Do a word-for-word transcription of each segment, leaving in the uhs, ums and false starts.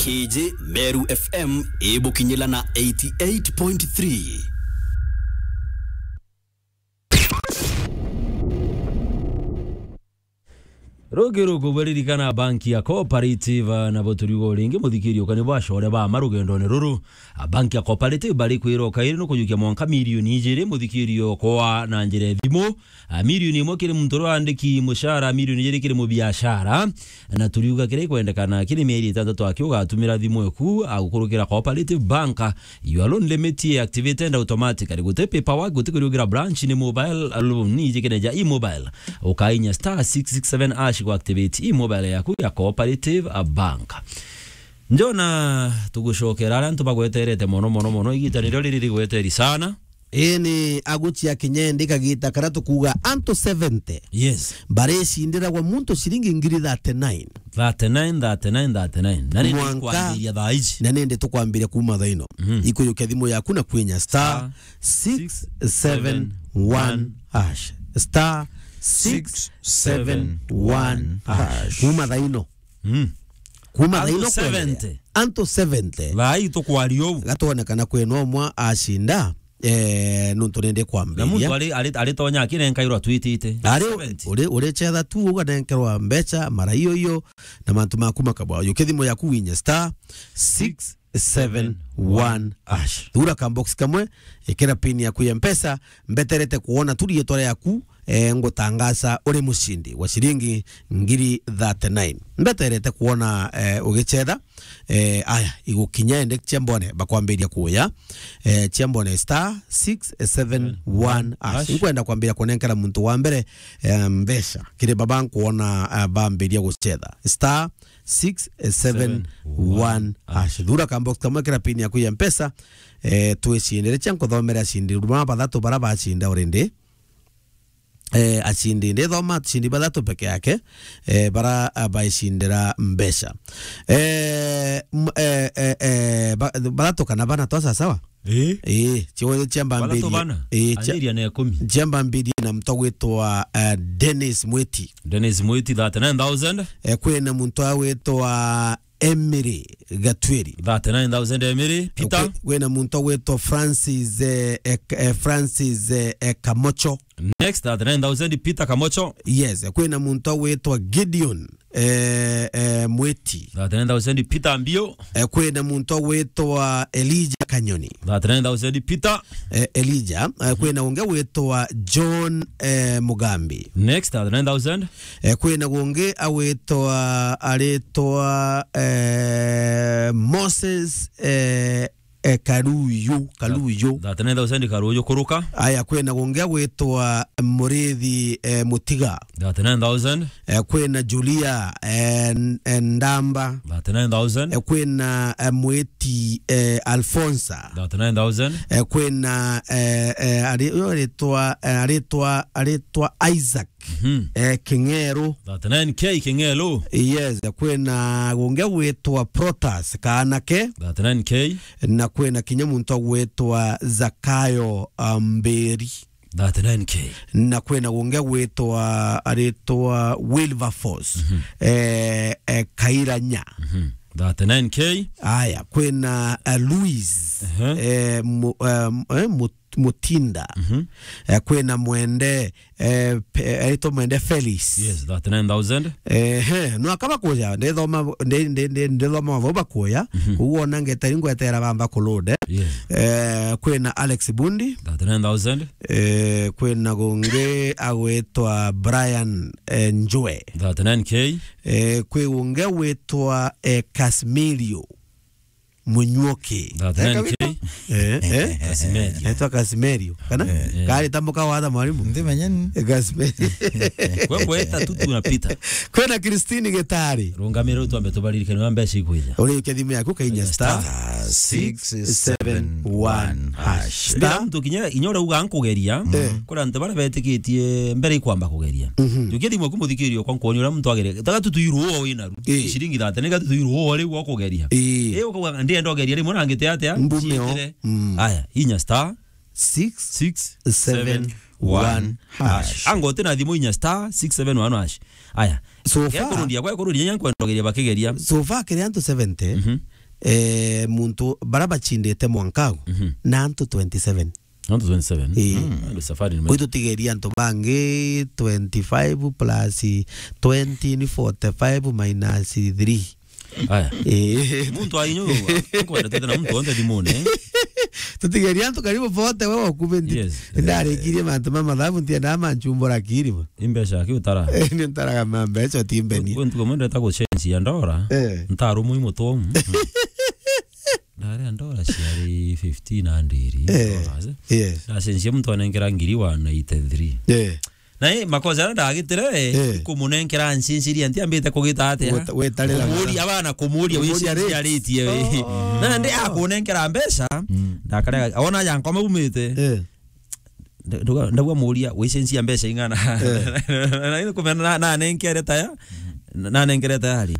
K J Meru F M ibukinyila na eighty-eight point three. Rugi ruku bwaririkana banki ya Cooperative, na buturiuga uringi muthikiri ukani bwa core ba ma rugendone ruru. A banki ya Cooperative bari kwira ukairi nukujukia mwanka milioni ijiri muthikiri okwa na njira ya thimu. A, milioni imwe kiri muntu uria wandiki mucara, milioni ijiri kiri mubiashara. Na turiuga kiri kwendekana kiri mieri itantatu aki ugatumira thimu eku, a, gukurukira Cooperative Bank. Your loan limit ye activated automatically. Guti paperwork, guti kuriugira branch, ni mobile loan, iji kene ja e-mobile. Ukainya star six six seven hash ku activate e-mobile yaku ya Cooperative Bank. Njona tugucokera aria antu bagweterete mono, mono, mono. Igita nirio riri rigweteri sana. Ii ni agucia kinya indi kagita karia tukuuga antu seventy. Yes. Baricindiragwa muntu ciringi ngiri thirty-nine. Thirty-nine, thirty-nine, thirty-nine. Na nindi kwambiria thaa ici. Na nindi tukwambiria kuuma thaa ino. Mhm. Ikujukia thimu yaku na kwinya star six seven one hash. Star six seven one hash. Kuuma thaa ino. Mm. Kuuma thaa ino kwendelea. Antu seventy. Antu seventy. Thaa ii tukwaria uu. Gatwonekana kwina umwe acinda. Eh, nuntu nindi kwambiria. Na muntu ari, ari, ari tonya akirenkairwa twitite. Ari, seventy. Uri, uri chetha tu uganenkerwa mbeca, mara iyo iyo, na mantu maku makabwa. Yukia thimu yaku winye star six seven one hash. Thura ka box kamwe, ikira pin yaku ya Mpesa, mbeterete kuona tu rietwa riaku, eh, ngutangaza uri mucindi wa ciringi ngiri thirty-nine. Mbeterete kuona, eh, ugichetha. Eh, aya, igukinya ende cia mbone bakwambiria kuya. Eh, cia mbone star six seven one hash. Hash. Nkwenda kwambiria kunenkera muntu wa mbere, eh, mbeca. Kiri baba nkuona, eh, bambiria guchetha. Star six seven one hash. Thura ka box kamwe kira pin yaku ya Mpesa. Eh, twicindire cia nkuthomera acindi. Ruma bathatu bara bacinda already. Eh, acindi, ndithoma acindi bathatu peke yake, eh, bara, ah, baicindira mbeca. Eh, m-, eh, eh, eh, ba-, bathatu kana bana twa sawa sawa? Ii. Ii, cio cia mbambirie. Bathatu bana? Ii, cia-, anjiria na ikumi. Cia mbambirie na muntu agwitwa, eh, Dennis Mwiti. Dennis Mwiti, thirty-nine thousand. Eh, kwina muntu agwitwa Emery Gatwiri. Thirty-nine thousand Emery. Peter. Kwi-, kwina muntu agwitwa Francis, eh, eh, Francis, eh, eh, Kamocho. Next, thirty-nine thousand, Peter Kamocho. Yes, kwina muntu agwitwa Gideon, eh, eh, Mwiti. Thirty-nine thousand, Peter Mbio. Eh, kwina muntu agwitwa Elijah Kanyoni. Thirty-nine thousand, Peter. Eh, Elijah. Eh, kwina ungi agwitwa John, eh, Mugambi. Next, thirty-nine thousand. Eh, kwina ungi agwitwa, aritwa, eh, Moses, eh, eh, Karuyu, Karuyu. Thirty-nine thousand Karuyu kuruka. Aya, kwina ungi agwitwa Murithi, eh, Mutiga. Thirty-nine thousand. Eh, kwina Julia, eh, N-, eh, Ndamba. Thirty-nine thousand. Eh, kwina, eh, Mwiti, eh, Alfonsa. Thirty-nine thousand. Eh, kwina, eh, eh, ari-, uyu aritwa, eh, aritwa, aritwa Isaac. Mhm. Eh, King'eru. Thirty-nine K King'eru. Yes, kwina ungi gwitwa Protas Kaanake. Thirty-nine K. Na kwina kinya muntu gwitwa Zakayo, ah, Mberi. Thirty-nine K. Na kwina ungi gwitwa, aritwa Wilberforce, mhm, eh, eh, Kairanya. Mhm. Thirty-nine K. Aya, kwina, eh, Louis, ehe, eh, mu-, eh, eh, mu-, Mutinda. Mhm. Eh, kwina Mwende, eh, pe-, aitwa Mwende Felix. Yes, thirty-nine thousand. Ehe, no akaba kuja, ndithoma, ndi-, ndi-, ndi-, ndithoma mavo bakuya. Mhm. Koguo ona ngeteri ngwetera bamba kulode. Yes. Eh, kwina Alex Bundi. Thirty-nine thousand. Eh, kwina gungi agwitwa Brian, eh, Njwe. Thirty-nine K. Eh, kwi gungi agwitwa, eh, Casmilio Munyuoki. Thirty-nine K. Eh, eh? Kasimerio. Aitwa Kasimerio. Kana? Eh. Kari tambuka watha mwalimu? Ndi menya ni. Eh, Kasimerio. Kwe kweta tu tunapita. Kwina Christine Gitari. Rungamira utwambe tubaririkane wa mbeca ikwija. Uri uke thimu yaku kainya star six seven one hash. Bila mtu kinya inyora uga nkugeria. Eh. Kura nte bara betikitie mbere ikwamba kugeria. Mhm. Jukia thimu yaku muthikirio kwa nkuonia uria muntu ageria. Taga tu tuiruo wina ru. Eh. Ciringi thirty, ni gatu tuiruo ri gwa kugeria. Ii. Ii, ukauga, "Ndienda ugeria rimwe na ngite atia?" Mbume o. Ciitire. Mm. Aya, inya star six seven one hash. Ango uti na thimu inya star six seven one hash. Aya. So far, gwa kurundia, gwa kurundia, nyankwenda ugeria bakigeria. So far, kiri antu seventy, mhm, eh, muntu bara bachindite mwanka au, Mhm. na antu twenty-seven. Antu twenty-seven? Ii. Mm, ndio safari nime- Kwitu tigeria antu bangi twenty-five plus twenty ni forty-five minus three. Aya. Ii. Muntu ainyu, akwenda twite na muntu onthe thimune. Tutigeria antu karibu forty we okuve nti-, Yes. Ndarikirie mantu ma mathabu ntiendaa manchumbura kirima. Imbeca ki utara? Eh, ni ntaraga ma mbeca utimbeni. Kwi ntuku imwe ndeta gucenjia ndora. Eh. Ntarumwi mutomu. Ndaria ndora ciari fifteen hundred Eh, dollars. Yes. Ndacenjia muntu anenkera ngiri one eighty-three. Eh. Na i makosa aria ndagitire, Eh. Kumunenkera ncinjiria ntiambite kugita atia? Weta-, wetarira Kumuria bana, kumuria Kumuria wicinjia rates. Ritie we. Oh. Na ndi akunenkera mbeca, Mm. ndakarega, ona ya nkoma umite. Eh. Nda-, nda-, ndauga muria, "Wicenjia mbeca ing'ana?" Eh. Na, na, na, nanenkere taya, na, nanenkere tayari.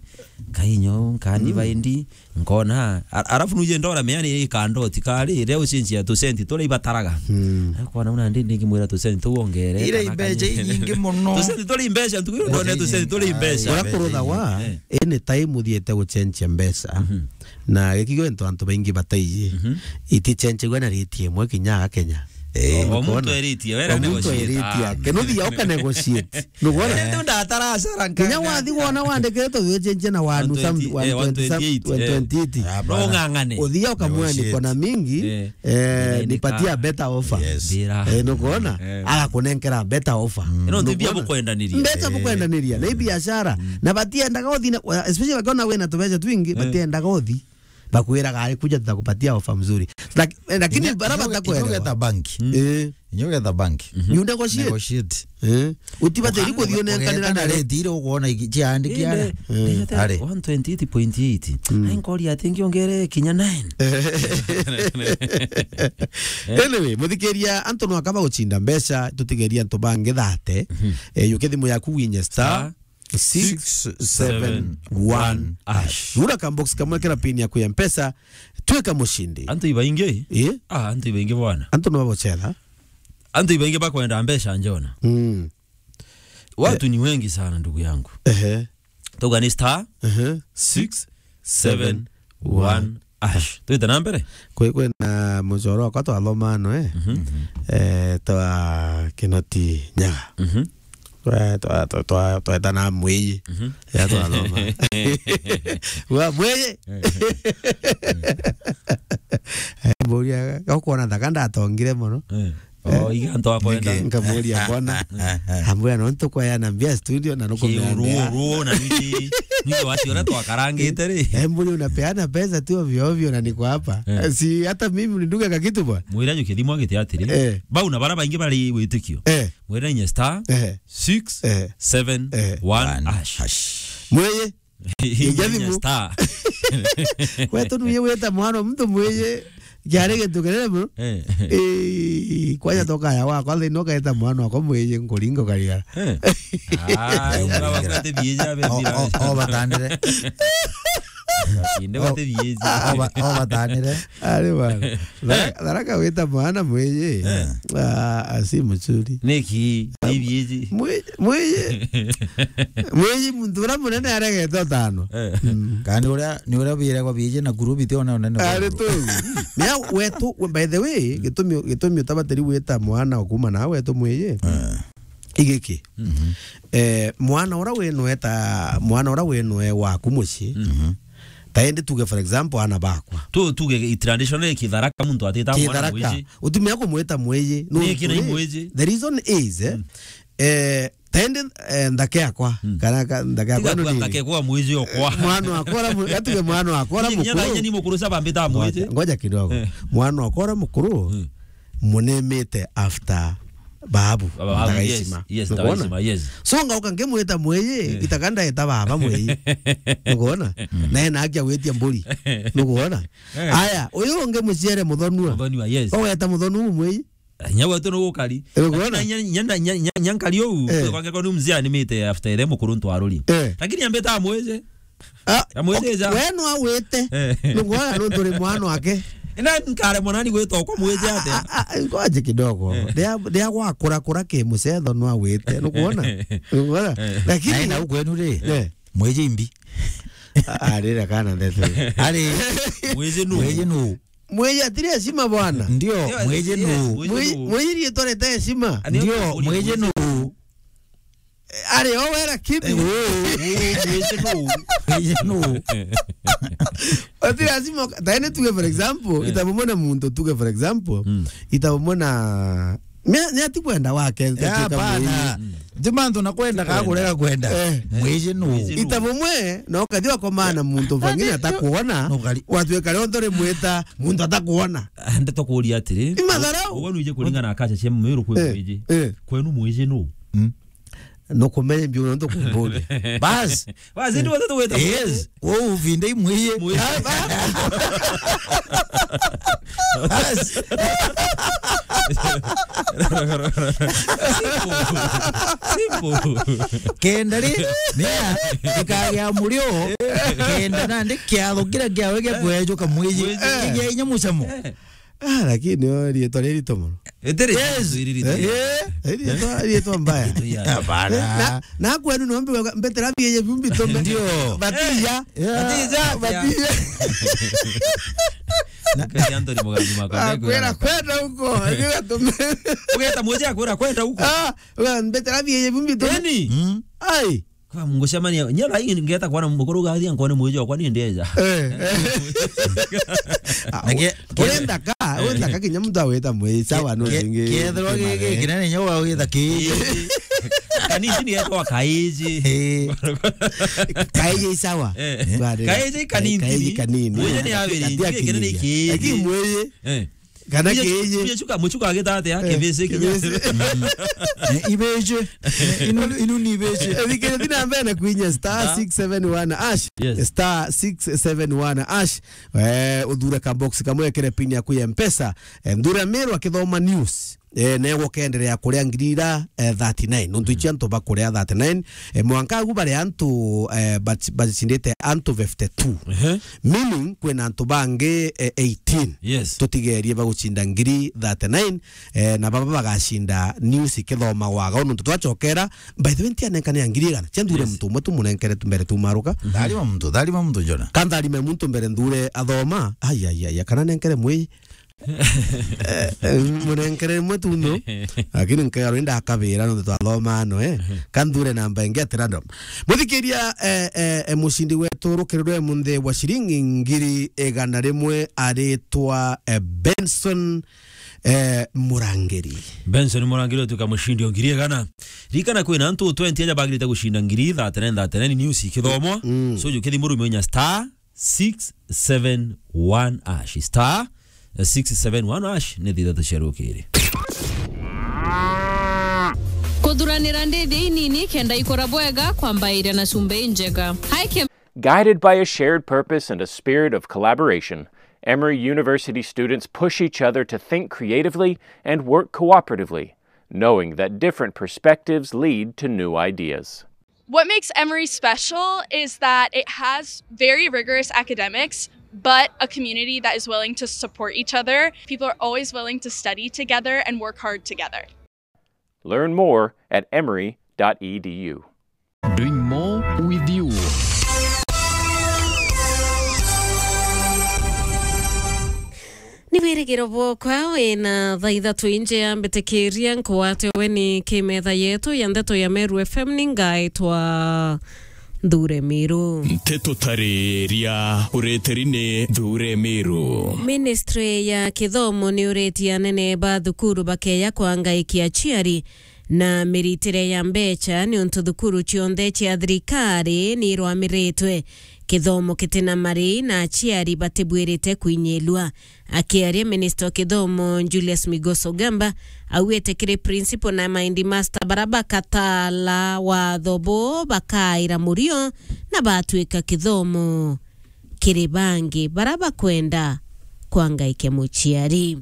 Kainyo, nkani Mm. baindi, nkona, a-, arafu nuje ndora meani ikandoti kari, ria ucenjia tusenti turia ibataraga. Mm. Akona una ndi ndingimwira tusenti tu wongere, Ira kana imbeca kani-, inyingi muno. Tusenti turia imbeca, ntuku iyo ndone tusenti turia imbeca. Ura kurutha wa, Eh. Any time uthiete gucenjia mbeca, Mhm. Na gikigwe ntu antu baingi bataiji, Mhm. Itichenjagua na rate imwe kinya aga Kenya. Eh. O muntu Nukwona? Eritie, wera O muntu negotiate. Eritie Ah. Ake. Nuthia uka negotiate. Nukwona? Ende ndatara acara Kinya nkanga. Wathi wona wandikite tu wichenjia na wanu One twenty, some, eh, one twenty some, one twenty-eight, eh. One twenty-eight. Ah, bana. No ng'ang'ane. Uthia ukamwani Negotiate. Kona mingi, Eh. Eh, Nene nipatia ka. Better offer. Yes. Ndira. Eh, nukwona? Eh. Agakunenkera better offer. Mm. Ino ntu mbia Nukwona? Bukwendaniria. Mbeca Eh. Bukwendaniria. Na i biashara. Mm. Na batiendaga uthi na, especially wakiona wina tubeca twingi, Eh. Batiendaga uthi. Bakwiraga, "Ari kuja tutakupatia offer mzuri." Lak-, eh, lakini Inya-, bara inyo-, batakwelewa. Inyogeta banki. Mm. Eh. Inyogeta banki. Mhm. You negotiate. Negotiate. Eh. Utibatiri kuthi unenkanira na rate. Rate ire ukwona iki-, ciandiki ara. Inde, Eh. Inde, Are. One twenty-eight point eight. Mm. Ai, nkoria ati ngiongere kinya nine. Anyway, muthikiria, antu no akaba guchinda mbeca, tutigeria antu bangi thate. Mhm. Eh, yuke thimu yaku winye star. Star. Six seven one hash. Gura ka box kamwe kira pin yaku ya Mpesa, twika mushindi. Antu ibaingi? Eh? Ah, antu ibaingi bwana. Antu no babochera. Antu ibaingi bakwenda mbeca njona. Mm. Watu Eh. Ni wengi sana, ndugu yangu. Ehe. Tuga ni star Ehe. Six seven one hash. Twite na mbere? Kwi, kwina muchoro wakwa twathoma ano, eh? Mhm. Eh, twa Kinoti Nyaga. Mhm. Twa, twa, twa, twa, tweta na Mwiji. Mhm. Ya twathoma. Wa Mwiji. Eh. Eh, mburia, ukwona thaka ndatongire mono. Eh. Oh, iga antu akwenda. Niki? Nkamuria mbona. Ambwira no ntukwayana mbia studio na nukumea mbia. Ruo, ruo, na niki, niki wati ora twakarangite ri? Eh, mburi unapeana pesa tu ovyo ovyo na niko hapa. Eh. Si hata mimi nidunge ka kitu bwana. Mwira ju kithimo giti atiri. Eh. Bau na bara baingi bari witikio. Eh. Mwira inye star Eh. Six seven one hash. Mweye. Inye thimu. Star. Wetu nuye weta mwana muntu mweye. Kiari gintu kinene muno. Eh. Eh, kwaja tokaya wakwa thini ukaeta mwana wakwa mwiji nkuringa ukarigara. Eh. Ah, ura wakwete bieja be O, bira. O, o batandire. Inde O, wate bieja. O ba-, o batandire. Ari bana. Eh? Thara-, Tharaka wita mwana mwiji. Eh. Ah, asi muchuri. Niki, ni bieji. Mwi-, mwiji. Mwiji muntu ura munene aregete utano. Eh. Mm. Kana ni uria, ni uria biragwa bieji na kurubi ti ona unene bwa Ari kurubi. Tu. Ni a-, wetu, we, by the way, gitumi, gitumi utabatiri wita mwana okuma na wetu mwiji. Eh. Igiki. Mhm. Eh, mwana ura winweta, mwana ura winwe waku muci. Mhm. Ta indi tuge for example ana bakwa. Tu, tuge i traditional Kitharaka muntu atita mwana Kitharaka. Mwiji. Utumia kumwita mwiji. No, Ni kina mwiji. Mwiji. The reason is, eh, Mm. Eh, ta indi, eh, nthake yakwa, Mm. kana ka-, nthake yakwa Tiga ino kwa nini? Nthake kwa mwiji okwa. Eh, mwana wakwa ura mu-, gatuge mwana wakwa ura Ni kinya mukuru. Thainye ni mukuru saba mbita mwiji. Ngoja, ngoja kidogo. Eh. Mwana wakwa ura mukuru, Mm. munemite after babu. Baba, Ndagaicima. Yes, yes, Nukwona? Ndagaicima, yes. So ngauka ngimwita mwiji, Eh. Itaka ndaeta baba mwiji. Nukwona? Mm. Na ena haki ya gwitia mburi. Nukwona? Eh. Aya, uyu ungi muciere muthonua. Muthonua, yes. Oweta muthonua mwiji. Nyau wetu ni gukari. Ukwona? Lakini nya-, nya-, nya-, nya-, nya-, nyankari uu, Eh. Kwangirwa ni mzee animite after ere mukuru ntwaruri. Eh. Lakini ambita amwije. Ah, Amwije okay, ja. We no awite. Eh. Nukwona nuntu ri mwana wake. Ina nkare mwanani gwita okwa mwije ate. Ah, ah, ah, ngoje kidogo. Eh. Ndia, ndia gwakura kura ki mucetho no awite. Nukwona? Nukwona? Eh. Lakini Naye na ukwenu ri, Eh. Mwije imbi. Arira kana ndeto. Ari, Mwiji nu? Mwiji nu? Mwiji atiri heshima bwana. Ndio, yes, mwiji yes, nu? Mwiji Mwiji, nu? Mwiji rietwa rete heshima. Ani Ndio, mwiji nu? Ari o we lakini. Eh, u, u, mwiji nu? Mwiji nu? Ati lazima, taene tuge for example, eh, ita bumwe na muntu, tuge for example, mm, ita bumwe na, ni, ni ati kwenda wake, ya, tutuika hapana. Mwiji. Ti mantu na kwenda ka kurega kwenda. Eh. Mwiji nu? Mwiji nu? Ita bumwe, na ukathi wakomana na muntu fangine atakuona, nukari. Watuika rionthe rimwita muntu atakuona. Ndeto kuria atiri. Ni matharau. Uwe nuije kuringana na kacha cia mwiru kwi, eh, mwiji. Eh. Kwenu mwiji nu? Mm. Nukumenya mbiu nontu kumbuge. Bas. Bas, ndio watu weta. Yes. Wo uvinde imwiye. Mwiye. Bas. Simple. Simple. Kenda ri, nia, ikagia murio, kenda nandi kiatho kiria kiawe gia kwejuka mwiji. Mwiji. Kigia inya mucamo. Eh. Ah, lakini o rietwa riri rito mono. Itiri. Yes. Riri rito. Eh? Eh? Rietwa, rietwa mbaya. Rito ya. Hapana. Na, na kwenu no mbi-, mbetera biye bumbi tome. Ndio. Batia. Eh. Yeah. Batia. Batia. Kati Anthony Mugambi mako. Ah, kwera kwenda huko. Ndio tume. Ugeta moja kwera kwenda huko. Ah, wewe mbetera biye bumbi tome. Eni? Mm. Ai. Kwa Mungu cemania, nya thaa ii ngeta kwana mukuru gathia nkone mwiji wakwa ni ndeja. Eh, eh. Na ke-, urenda ka, urenda ka kinya muntu awita mwiji, sawa, no ke-, zingi. Kethirwa gigi kinene nyo wa wita kiji. Kanini ni etwa kaiji. Eh. Kaiji sawa. Eh. Bade. Kaiji kanini. Kaiji kanini. Mwiji ni awiri, katia kinene kinini. Lakini mwiji. Eh. Kana kiiji. Kinya chuka, muchuka agita atia, eh, kibisi kinya. Kibisi. Mm. Eh, ibiji. Eh, inu, inu ni ibiji. Eh, thikira thina mbere na kwinya star six seven one hash. Yes. Star six seven one hash. Eh, uthure ka box kamwe, ekere pin yaku ya Mpesa. Eh, Nthure Meru akithoma news. Eh, na egwo kenderea kuria ngiri ira, eh, thirty-nine. Nontu ichi antu bakuria thirty-nine. Eh, mwanka agu bari antu, eh, baci-, bacindite antu fifty-two. Ehe. Meaning, kwina antu bangi, eh, eighteen. Yes. Tutigerie bagucinda ngiri thirty-nine, eh, na baba bagacinda news ikithomagwa aga. Nontu twachokera, by the way, ntianenkane ya ngiri igana. Cia Nthure, yes, muntu umwe tumunenkere tu mbere tumaruka. Tharima muntu, tharima muntu, Jona. Ka ntharime muntu mbere Nthure athoma. Ai, ai, ai, ai, kana nenkere mwi. Eh, eh, munenkere rimwe tu no. Lakini nkero ndakabira no twathoma no, eh. Ka Nthure namba ingi at random. Muthikiria, eh, eh, eh, mucindi wetu rukiri rwe munthi wa ciringi ngiri igana rimwe aritwa, eh, Benson, eh, Murangiri. Benson Murangiri utuika mucindi o ngiri igana. Ririkana kwina antu twenty aja bagirite gucinda ngiri thirty-nine, thirty-nine news ikithomwa. Mm. So jukithi murume unya star six seven one hash. Star six seven one hash ni thithatu cia rukiri. Kuthuranira ndithi inini kenda ikura bwega, kwambairia na cumbi injega. Hi, Kim. Guided by a shared purpose and a spirit of collaboration, Emory University students push each other to think creatively and work cooperatively, knowing that different perspectives lead to new ideas. What makes Emory special is that it has very rigorous academics, but a community that is willing to support each other. People are always willing to study together and work hard together. Learn more at emory dot e d u. Doing more with you. Ni wirigiro bwokwa wina thaa ithatu inje ya mbitikiria nkwate we ni kimetha yetu ya ndeto ya Meru F M, ni ngaitwa Nthure Miru. Nteto tariria ureteri ni Nthure Miru. Ministry ya kithomo ni uretie anene ba thukuru bakeya kwangaikia aciari na miritire ya mbecha, niuntu thukuru cionthe cia thirikari ni irwamiritwe. Kithomo kitina mari na aciari batibwirite kwinyilua. Akiaria, minista wa kithomo Julius Migos Ogamba augite kiri principal na maindi master bara bakatala watho bo bakaira murio na batwika kithomo kiri bangi bara bakwenda kwangaikia muciari.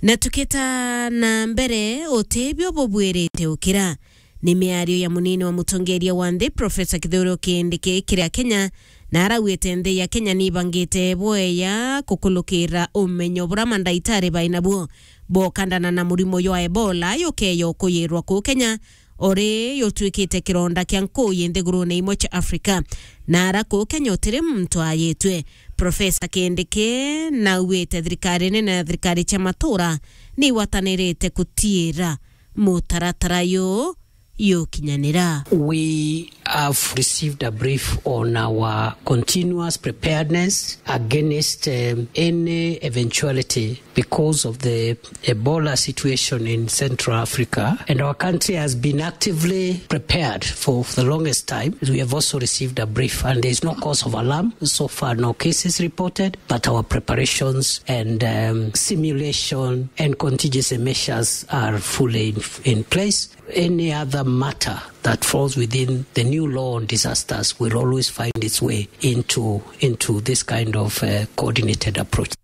Na tukita na mbere, utibio bubwirite ukira. Ni miario ya munini wa mutongeria wa nthi, Profesa Kithure Kindiki, kiri Akenya, na arauite nthi ya Kenya ni ibangite bweya kukulukira umenyo bura mandaitari bainabuo bokandana na murimo jwa Ebola jukeya ukuyirwa kuu Kenya, uri yutwikite kironda kia nkuuyi nthigurune imwe cia Afrika, na ara kuu Kenya utiri muntu ayitwe. Profesa Kindiki naugite thirikari nene na thirikari cia matura ni igwatanirite gutiira mutaratara yu yukinyanira. We have received a brief on our continuous preparedness against, um, any eventuality because of the Ebola situation in Central Africa, and our country has been actively prepared for the longest time. We have also received a brief, and there is no cause of alarm. So far, no cases reported, but our preparations and, um, simulation and contingency measures are fully in, in place. Any other matter that falls within the new law on disasters will always find its way into, into this kind of, uh, coordinated approach.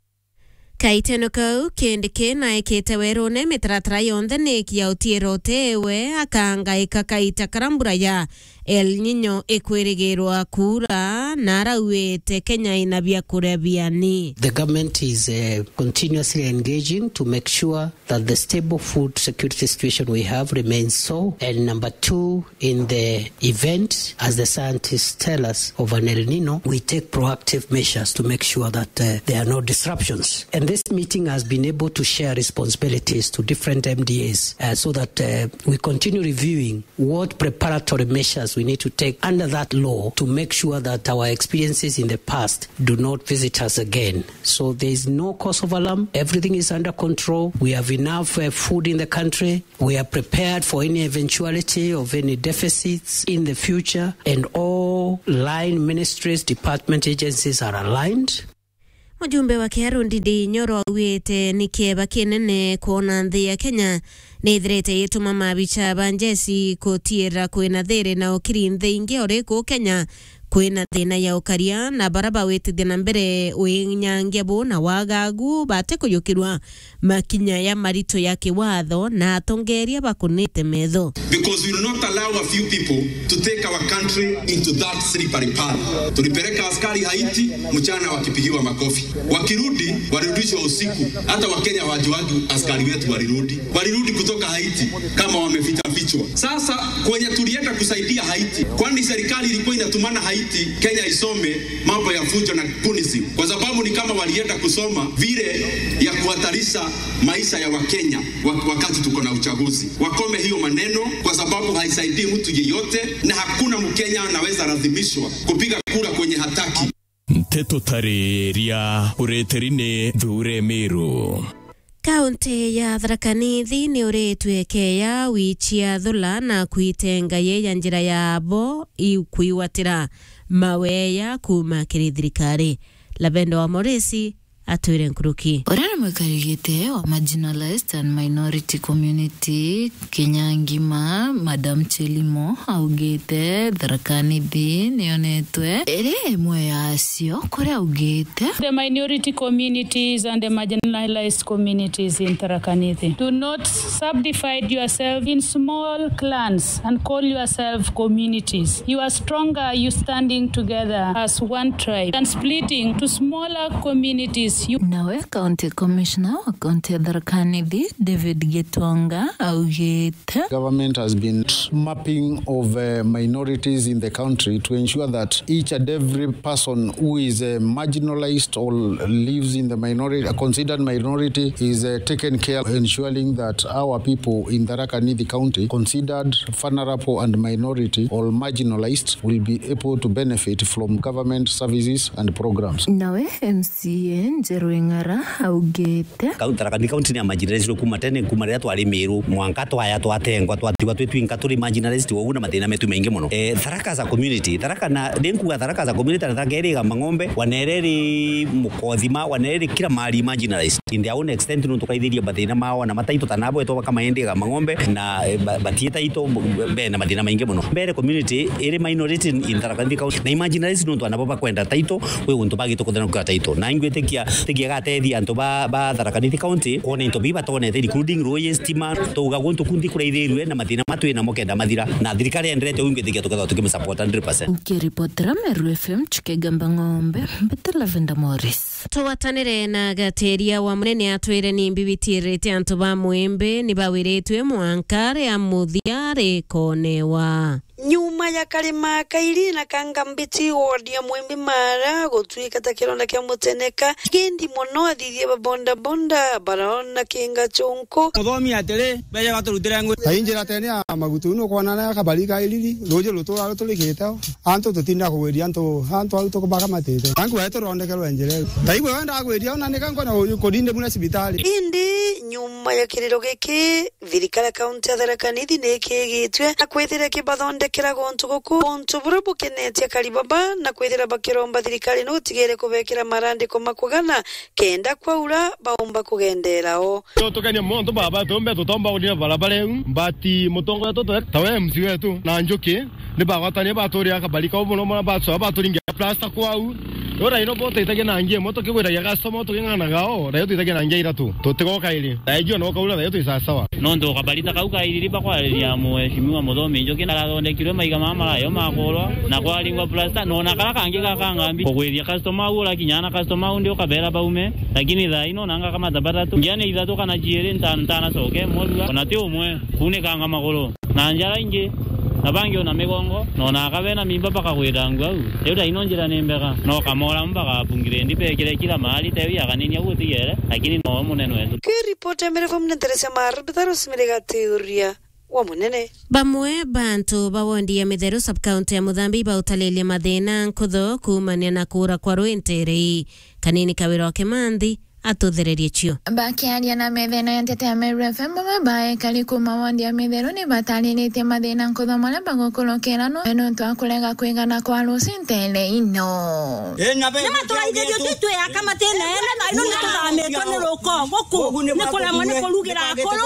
Kaiteno kau, Kindiki naikite werune mitaratara yonthe niki ya utiira utewe akangaika kaita kara mbura ya El Nino ikwirigirwa kuura, na arauite Kenya ina biakuria biani. The government is, uh, continuously engaging to make sure that the stable food security situation we have remains so. And number two, in the event, as the scientists tell us, of an El Nino, we take proactive measures to make sure that, uh, there are no disruptions. And this meeting has been able to share responsibilities to different M D As, uh, so that, uh, we continue reviewing what preparatory measures we need to take under that law to make sure that our experiences in the past do not visit us again. So there is no cause of alarm. Everything is under control. We have enough, uh, food in the country. We are prepared for any eventuality of any deficits in the future, and all line ministries, department, agencies are aligned. Mujumbe wa Kiharu Ndindi Nyoro augite ni kieba kinene kwona nthi ya Kenya ni ithirite igituma mabicha ba njeci gutiira kwina thiri na ukiri nthi ingi ori kuu Kenya kwina thina ya ukaria, na bara bawitithia na mbere winyangia buu na wagagu bati kujukirwa makinya ya marito ya kiwatho na atongeria bakunite metho. Because we will not allow a few people to take our country into that slippery path. Tulipeleka askari Haiti mchana wakipigiwa makofi. Wakirudi, walirudishwa usiku. Hata Wakenya hawajuagi askari wetu walirudi. Walirudi kutoka Haiti kama wameficha fichwa. Sasa kwenye tulienda kusaidia Haiti, kwani serikali ilikuwa inatumana Haiti, Kenya isome mambo ya fujo na kunisim, kwa sababu ni kama walienda kusoma vile ya kuhatarisha maisha ya Wakenya wa-, wakati tuko na uchaguzi. Wakome hiyo maneno, kwa sababu haisaidii mtu yeyote, na hakuna Mkenya anaweza lazimishwa kupiga kura kwenye hataki. Nteto tariria ureteri ni Thuure Miru. Kaunti ya Tharaka Nithi ni uritwe keya wichia thula na kwitenga ye ya njira yabo ikwigwatira maweya kuuma kiri thirikari. Lavenda wa Moresi atwire nkuruki. Uria ni mwikari giti wa marginalized and minority community Kenya ngima, Madam Chelimo, augite Tharaka Nithi niyonetwe iri imwe yacio, kuria augite, The minority communities and the marginalized communities in Tharaka Nithi, do not subdivide yourself in small clans and call yourself communities. You are stronger, you standing together as one tribe than splitting to smaller communities. You Nawe County Commissioner wa County ya Tharaka Nithi, David Gitonga, augite, Government has been mapping of, uh, minorities in the country to ensure that each and every person who is, uh, marginalized or lives in the minority, a considered minority, is, uh, taken care, ensuring that our people in Tharaka Nithi County, considered vulnerable and minority or marginalized, will be able to benefit from government services and programs. Nawe M C A Njeru Ing'ara augite, Kau Tharaka Nithi County ni ya marginalized kuma tene, kuma riria twari Miru, mwanka twaya twatengwa, twatigwa twi twinka turi marginalized, ugu na mathina metu maingi muno. Eh, Tharaka as a community, Tharaka na, ndi nkuga Tharaka as a community, na Tharaka iri Igamba Ng'ombe, wana iria iri Mukothima, wana iria iri kila mahali marginalized. In their own extent, nuntu kaithirie mathina mao, na mataito ta nabo etwa bakama indi Igamba Ng'ombe, na, eh, ba-, batie taito, be na mathina maingi muno. Mbere community iri minority in, in Tharaka Nithi County, na marginalized nuntu anabo bakwenda taito, kwi untu bagite kuthana kwa taito. Na ingwitikia Tigiaga ateethia antu ba, ba Tharaka Nithi County, kwona into biu batonete, including ruuji, stima, tuuga guntu kunthi kuraithirue na mathina ma twi namo kenda mathira. Na thirikari enderete uu ingwitikia tukethirwa tukimsupport hundred percent. Nkiripotera Meru F M, Chikegamba Ng'ombe, mbita Lavender Morris. Tugwatanire na Gateria wa Munene atwire ni mbibitiirite antu ba Mwimbi ni bawiritwe mwanka ria muthia rikonewa. Nyuma ya karima kairi na kanga mbiti ward ya Mwimbi Mara gutwika ta kironda kia muteneka, kindi mono athithia ba boda boda baraona kinga chunku. Muthomi atiri, beje baturutire ngui. Ta injira tene ya magutu, nukwona na kabari ka iriri, ruuji rutura ruturikite o. Antu tutinda kugwiria antu, antu au tukubakamatite. Tangu wetu rondekerwe njira iu. Ta igwe wenda kugwiria, ona nika nkona kurinde muna cibitari. Indi nyuma ya kiriro giki, thirikari ya kaunti ya Tharaka Nithi ni ikigitue na kwithira ikibathondekera guntu guku, guntu buria bukenetie akari baba, na kwithira bakiromba thirikari ni gutigire kubekira marandiko ma kugana kenda kwaura baumba kugendera o. Tutukania muntu baba, tumbe tutomba kuthira barabara iu, but mutongoria wetu tawe M C wetu na Njuki ni bagwatania baturira kabari kau mono mono, bacoa baturingia plasta kwau. Ura ino bo twitagia na ngia imwe, tukigwiragia customer, tuking'anaga o, raio twitagia na ngia iratu. Tutigoka iri. Raio jua no kaura, raio twi sawa sawa. Nontu kabari ta kau ka iriri bakwariria Mheshimiwa Muthomi Njuki, narathondekirwe maiga mama marayo makurwa, na kwaringwa plasta, nona kara kangi ga kangambi. Kugwithia customer au, urakinya na customer au, ndi ukabera baume. Lakini thaa ino nanga kama tabata tu. Ngia ni ithatu kana ciiri, nta-, ntanacoke, mwe thua. Ona ti umwe, kunikanga maguru. Na njara ingi, na bangi ona migongo, na ona akabe na mimba bakagwira ngu au. Riu thaa ino njira ni mbega, no kamora mpaka apungire ndi bekire kila mahali, tewi akanini au utigere, lakini no munene wetu. Kiripoti ya Meru F M ni Teresia Maru, Bitharo Simiriga Tiuria wa Munene. Bamwe bantu ba wondi ya Mitheru sub-county ya Muthambi bautalilia mathina nkutho kuumania na kuura kwa rui ntere ii. Kanini Kawira wa Kimanthi atuthererie cio. Bakiaria na methene ya nteto ya Meru F M, bamwe ba ekari kuuma wondi ya Mitheru ni batariritie mathina nkutho maria bagukurukira no nontu wa kurega kwigana kwa ruuji ntere ino. Ni maturaithirio tu twiyaka matine ene, na ino ni tuthamitwe ni ruko guku, ni kuremwa ni kurugira akuru,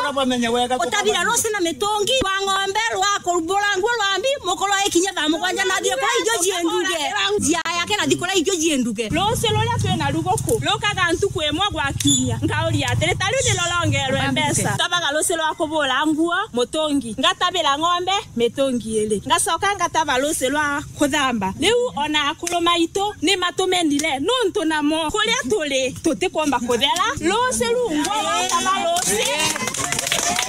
utabira ruuji na mitungi rwa ng'ombe, rwa kurubura nguo, rwa mbi, mukuru aikinya thaa mugwanja na athie kuria irio cienduge. Njia yake na thikura irio cienduge. Ruuji ruria twina ruguku rukaga ntuku imwe gwa kiumia. Nkauria atiri, ta riu ni rurongerwe mbeca. Tabaga ruuji rwa kubura nguo, mutungi. Ngatabira ng'ombe, mitungi iri. Ngacoka ngataba ruuji rwa kuthamba. Riu ona akuru maitu ni matumenire, nontu namo kuria turi tutikomba kuthera. Ruuji ru ngwa wataba ruuji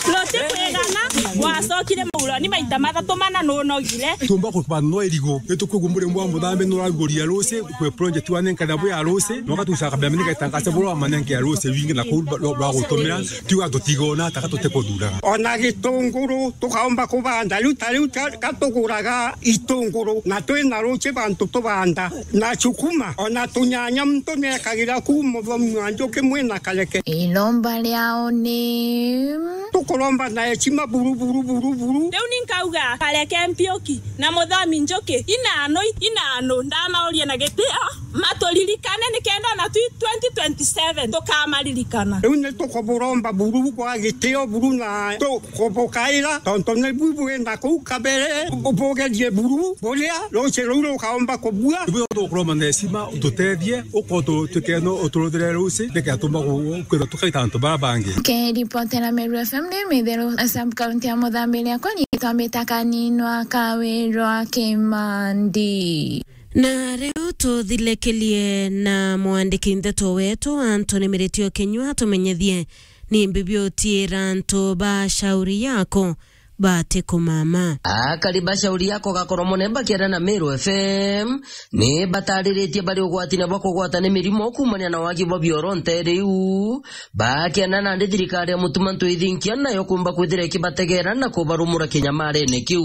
rutikwigana, wacokire mauroni maita mathatu mana nunogire. Tumba kubanwa irigo, itukwigua muri mwa muthambi nuraguria ruuji, kwi project wa nenkana bwi ya ruuji, no gatusa kabla mini gatangaza buru wa manenge ya ruuji wingi na kuu rwa gutumira, tiga tutigona taka tutikuthuraga. Ona gitunguru tukaomba kubanda, riu ta riu ta-, ka tuguraga itunguru, na twina ruuji bantu tubanda, na cukuma, ona tunyanya muntu nekagira ku Muthomi wa Njuki mwina kareke. Iromba riao ni tukuromba na heshima buru, buru, buru, buru. Riu ni nkauga kareke Mpiuki na Muthomi Njuki, inano, inano, ndamauria na gitio, maturirikane nikenda ona twi twenty twenty-seven tukamaririkana. Riu ni tukuburomba buru bwa gitio buru na tu-, kubukaira, tontu ni bu bwina kuu kabere, bu-, bugerie buru buria ruuji ruu rukaomba kubua. Ibu tukuromba na heshima, ututethie, uko tu-, tukeno, uturuthire ruuji, nike atuma ku-, kwithirwa tukaita antu bara bangi. Kiripotera Meru F M ni Mitheru, sub-county ya Muthambi, riakwa riitwa Mbita Kaninwa Kawirwa Kimandi. Na riu tuthilekelie na mwandiki nteto wetu Anthony Miritio Kinyua atumenyethie ni mbi biutiira antu ba Shauri Yako batikumama. Akari ba Shauri Yako gakoromone bakiaria na Meru F M ni batariritie bari ugwatine bwa kugwata ni mirimo kuumania na wagi bwa bioro ntere iu. Bakiana nandi thirikari ya Mutuma Ntwithinkia nayo kumba kwithira ikibategera na kubarumura kinyamarene kiu.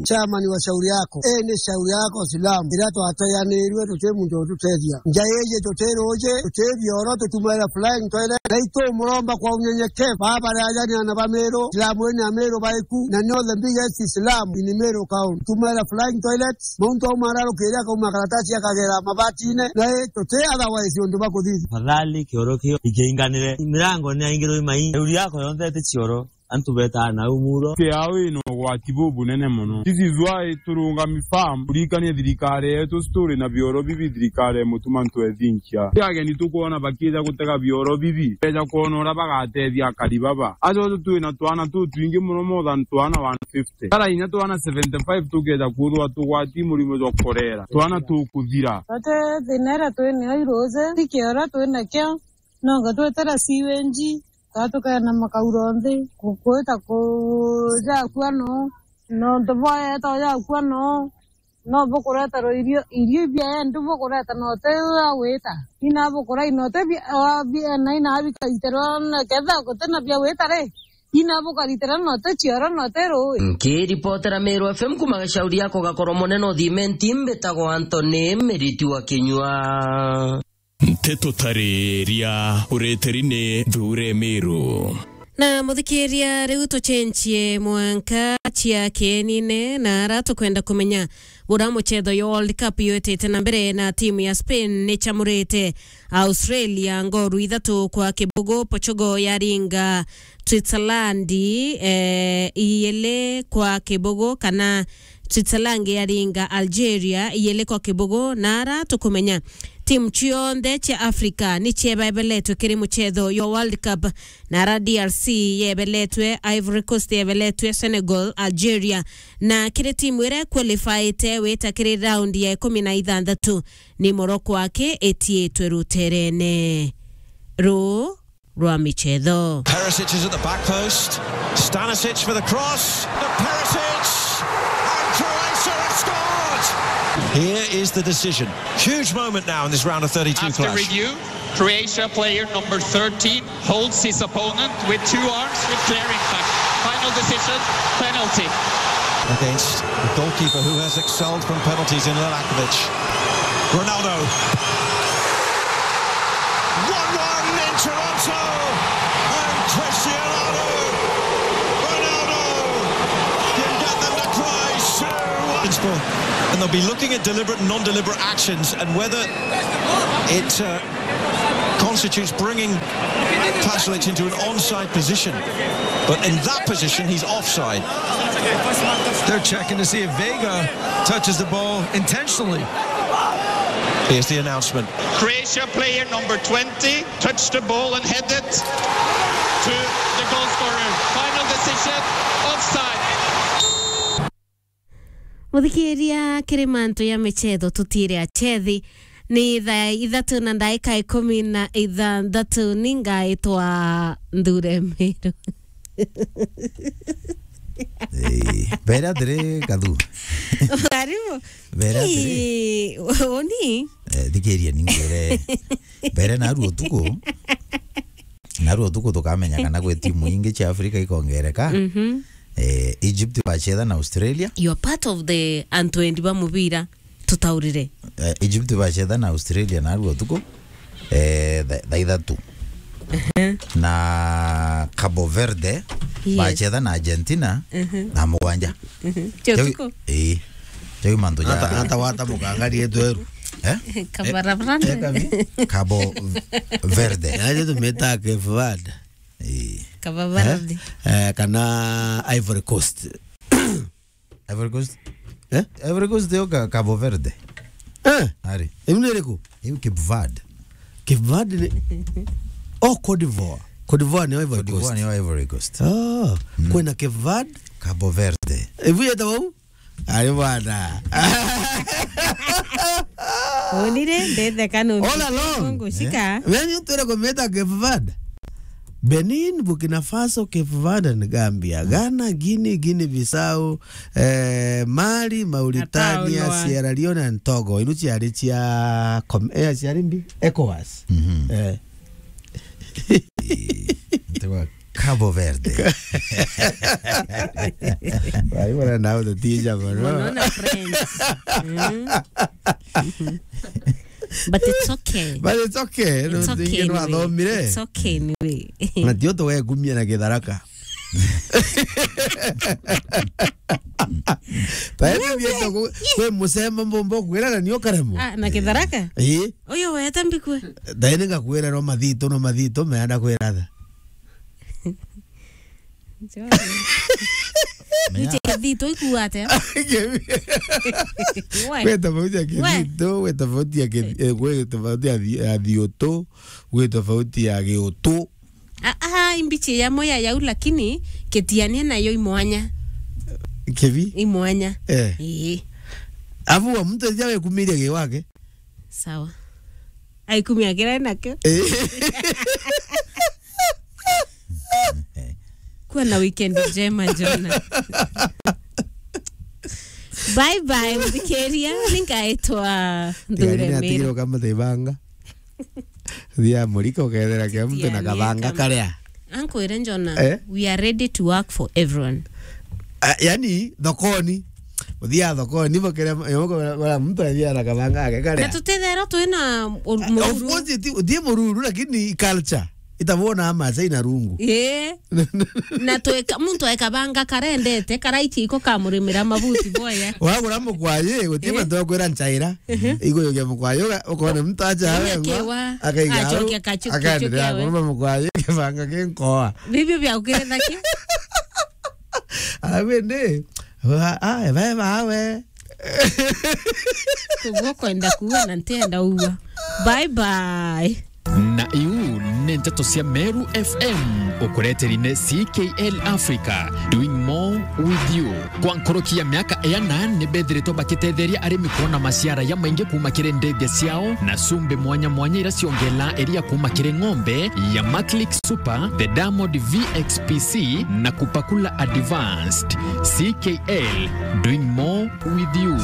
Chairman wa Shauri Yako, ii ni Shauri Yako Silamu, iria twateanirue tuti muntu ututethia. Nja iji tuti ruuji, tuti bioro, tutumaira flying toilet. Na itumuromba kwa unyenyekevu, baba ri ajani ana ba Meru, Silamu ini Ameru baiku, na ni all the biggest Islam in Meru County. Tumaira flying toilet, muntu auma ararukiria akauma karatasi akagera mabatine, na i tuti otherwise undu bakuthithia. Tafadhali kioro kio ikiinganire, mirango ni yaingirwe imai, Shauri Yako yonthe iti cioro. antu betaa nau muro. Kiao ina ugwati bubunene mono. This is why turungami firm, kurikania thirikari yetu, turi na bioro bibi, thirikari ya Mutuma Ntwethinkia. Ti ageni tukwona bakija gutega bioro bibi, beja kwona uria bagatethia akari baba. Ajo twina twana tutwingi mono, more than twana one fifty. Tara inya twana seventy-five tukeja kwithirwa tugwati murimo jwa korera. Twana tukuthira. Ate thina iria twinio iruji, ti kioro twinakio, nonga twetera siwenji, kaa tukeena makauro nthi, kukwita kujakua no, nontu bwaeta ujakua no, no bukureterwa irio, irio ibia endi bukureta no ti ya gwita. Ina bukurai no ti bia, wa bia, na ina bikaiterwa, na ketha guti na bia gwita ri, ina bukaritira no ti cioro no ti rui. Nkiripotera Meru F M kuma Gacauri yako gakorwo munene uthimenti, mbitagwo Anthony Miriti wa Kinyua. Nteto tariria ureteri ni Thure Meru. Na muthikiria, riu tucenjie mwanka cia kienine, na ara tukwenda kumenya bura mucetho ya World Cup yotete na mbere, na timu ya Spain ni chamurite Australia ngoru ithatu kwa kibugu. Portugal yaringa Switzerland, eh, iyele kwa kibugu, kana Switzerland yaringa Algeria iyele kwa kibugu. Na ara tukumenya timu cionthe cia Africa ni ciebebeletwe kiri mucetho yo World Cup, na ara D R C yebeletwe, Ivory Coast yebeletwe, Senegal, Algeria, na kiri timu iria qualifiete wita kiri round ya ikumi na ithanthatu ni Morocco aki itiitwe ruterene ru rwa michetho. Perisic is at the back post. Stanisic for the cross. The Perisic! And Croatia have scored! Here is the decision. Huge moment now in this round of thirty-two clash. After review, Croatia player number thirteen holds his opponent with two arms with clear impact. Final decision, penalty. Against the goalkeeper who has excelled from penalties in Lelakovic. Ronaldo. One one in Toronto. And Cristiano Ronaldo can get them to cry two one. And they'll be looking at deliberate and non-deliberate actions and whether it, uh, constitutes bringing Pasalic into an onside position. But in that position, he's offside. They're checking to see if Vega touches the ball intentionally. Here's the announcement. Croatia player number twenty touched the ball and headed to the goal scorer. Final decision, offside. Muthikiria, kiri mantu ya michetho tutire achethi. Ni thaa ithatu na ndaika ikumi na ithanthatu, ni ngaitwa Nthure Meru. Eh, mbere atiri, Gathu. Karibu. Mbere atiri. Ii, uni? Eh, thikiria ninkwire. Mbere naru utuku. Naru utuku tukamenya kana gwi timu ingi cia Afrika ikongereka. Mhm. Eh, Egypt bachetha na Australia. You are part of the antu endi ba mubira, tutaurire. Eh, Egypt bachetha na Australia naru utuku, eh, tha-, thaa ithatu. Ehe. Na Cabo Verde, yes, bachetha na Argentina, mhm, thaa mugwanja. Mhm. Cia utuku? Eh. Jau mantu ja ata, ata wata mukangari etu eru. Eh? Kabarabarani. Eh, kabi? Cabo Verde. Yaani tumeta Cape Verde. Eh. Kabarabarani. Eh, eh, kana Ivory Coast. Ivory Coast? Eh? Ivory Coast yo ka-, Cabo Verde. Eh? Ari. Iu ni iriku? Iu Cape Verde. Cape Verde ni, oh, Cote d'Ivoire. Cote d'Ivoire ni Ivory Coast. Cote d'Ivoire ni Ivory Coast. Ah, mm, kwina Cape Verde? Cabo Verde. Ibu yeta wau? Ari bwana. Onire, ndetheka nundu all along. Ngucika. Eh? Wewe ni utwire kumeta Cape Verde? Benin, Burkina Faso, Cape Verde and Gambia. Ghana, Guinea, Guinea Bissau, eh, Mali, Mauritania, Ataonwa. Sierra Leone and Togo. Inu ciari cia com-, eh, ciari mbi? ECOWAS. Mhm. Eh. Ntewa Cabo Verde. Wai, wana nao tutija mono. Mono na friends. Mm. But it's okay. But it's okay. It's okay anyway. It's okay anyway. Na tio tugekumia na Githaraka. Taende bieta ku-, kwi mucema mbombo kwira na nio karemo. Ah, na Githaraka? Ii. Uyu wete mbikwe. Taende ngakwira no mathito, no mathito meenda kwira tha. Menya. Nje kithito ikuate. We. Gwe tofauti ya We. Kithito, gwe tofauti ya kithi-, eh, gwe tofauti ya thi-, ya thioto, gwe tofauti ya giutu. Ah, ah, imbichi ya moya yau, lakini kitiania nayo imwanya. Kivi? Imwanya. Eh. Ii. Afu wa mtu aja wekumiria gi wake. Sawa. Aikumia kira nakio. Eh. Kuwa na weekend njema, Jona. Bye bye, muthikiria. Ningaitwa Tigani Nthure natigirwo Meru. Kama tebanga. Thia murika ukethera kia mtu na Tigani kabanga kama karia. Ankwire Jona, Eh? We are ready to work for everyone. Ah, yani, thokoni. Uthia thokoni, bokere, yoko, bara mtu athia na kabanga ake karia. Na tutethera twina ur-, Of mururu. Course, ti, ti mururu, lakini culture. Itavona ama sai na rungu. Ii. Na tweka, muntu ekabanga karendete, karaichi iko kamurimira mabuti boya. Wagura mukwayi, guti Eh. mantu akwira nchaira. Mhm. Iguyogia mukwayi, uga-, ukona mtu acha awe ngwa, Akewa, akaiga au, acokia kachu-, akaendelea kachu kiawe. Kuruma mukwayi, kibanga kinkoa. Bibio bia ukire thaki. Awende, wa, a, ebe bawe. Kuguo kwenda kuua na ntienda uua. Bye bye. Na iu ni nteto cia Meru F M, ukureteri ni C K L Africa, doing more with you. Kwa nkoroki ya miaka iana, ni bethiritwe bakitetheria arimi kuona maciara ya maingi kuma kiri ndege ciao na cumbi mwanya mwanya ira ciongela iria kuma kiri ng'ombe ya Maclick Super, the Diamond V X P C na Kupakula Advanced. C K L, doing more with you.